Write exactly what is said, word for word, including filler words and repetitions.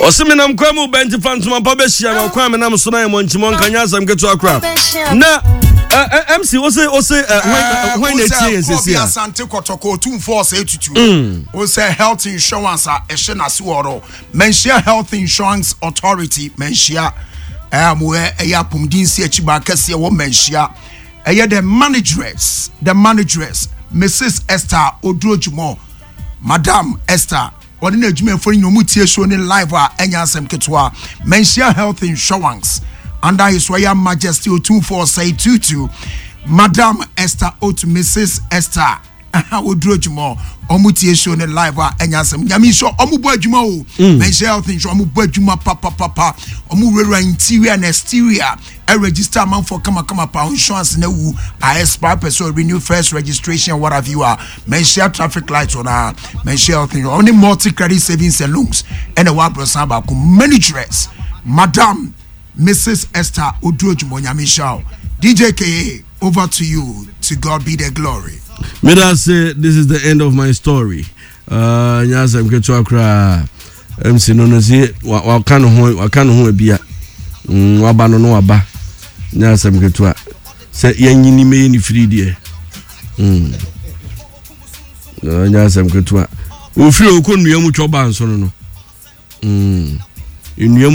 Ɔse menam kwan mu bɛnti fa ntoma pa bɛhyia me. Ɔkwan a menam so no ayɛ mmɔnkyimɔ nka nyɛ asɛm ketewa koraa. Na ɛ, ɛ, M C, wo se wo se ɛ, hwan hwan na ɛtie yɛn sɛsi a? Asante Kɔtɔkɔ Otumfoɔ Ɔsɛ Tutu wo sɛ health insurance a ɛhyɛ n'ase wɔ no, Manhyia Health Insurance Authority, Manhyia ɛyɛ mo ɛyɛ apɔmuden si akyi ba kɛseɛ wɔ Manhyia, ɛyɛ the manageress the manageress Missus Esther Odurojumɔ. Madam Esther, ɔne n'adwumayɛfoɔ no nyina ɔmu tie show ne live a ɛnyɛ asɛm ketewa. Manhyia Health Insurance under His Royal Majesty Otumfoɔ Ɔsɛe Tutu, Madam Esther Otu, Missus Esther Oduro adwuma, ɔmo tie show ne live a ɛnyɛ asɛm. Nyame nso ɔmo bɔ adwuma o. Manhyia Health Insurance, ɔmo bɔ adwuma papapapa. Ɔmo wurawura interior and exterior, ɛregister amanfoɔ kamakama pa. Insurance na wu a expire, pɛ sɛ renew first registration, what have you a, Manhyia traffic light wɔ na Manhyia Health Insurance ɔne Multi Credit Savings and Loans ɛna ɛwɔ aborɔsan baako. Manageress Madam Missus Esther Oduro adwuma, Nyame nhyira wo. D J K A, over to you. To God be the glory. Meda se this is the end of my story. uh, nyɛ asɛm ketewa koraa. M C no no si waka ne ho, waka ne ho abia. mm, waba no no waba, nyɛ asɛm ketewa sɛ yɛnyini mɛyɛ ne firi deɛ. mm. nyɛ asɛm ketewa. Ofiri okɔ nnua mu twɔ ba nso no no mm. Nnua.